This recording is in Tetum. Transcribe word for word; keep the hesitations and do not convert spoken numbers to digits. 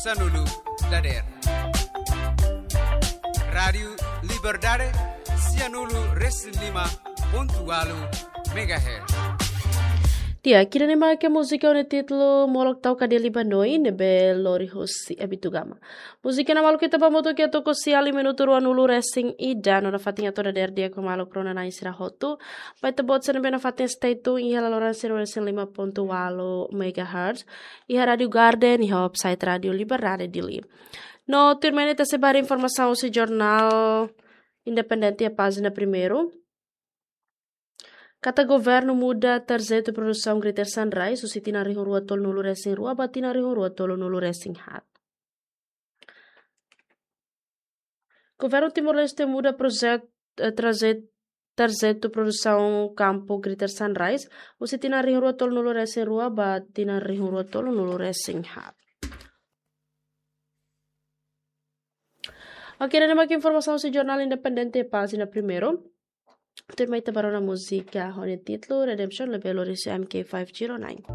Sianulu dader. Rádiu Liberdade, sianulu resin lima pontu ualu megahertz. Di'ak, ida-ne'e mak múzika ho nia títulu Molok Tau Kadia Libanoi ne'ebé lori husi Abitugama. Múzika ne'e maluk ita ba hamutuk iha to'o siali minutu ruanulu resin ida no nafatin atu dader di'ak ho maluk rona-na'in sira hotu. Ba ita-boot sira ne'ebé nafatin stay tune iha laloran sianulu resin lima pontu ualu megahertz. Iha Rádiu Garden, iha website Rádiu Liberdade Dili. No tuirmai ne'e ita sei ba haree informasaun husi jornál Independente iha pájina primeiru. Katak governu muda tarjetu produsaun Greater Sunrise husi tinan rihun rua tolunulu resin rua ba tinan rihun rua tolunulu resin haat. Governu Timor-Leste muda projetu, eh, tarjet-, tarjetu produsaun kampu Greater Sunrise husi tinan rihun rua tolunulu resin rua ba tinan rihun rua tolunulu resin haat. Oke, ida-ne'e mak informasaun husi jornál Independente pájina primeiru. Tuirmai ita ba rona múzika ho nia títulu Redemption ne'ebé lori husi M K five zero nine.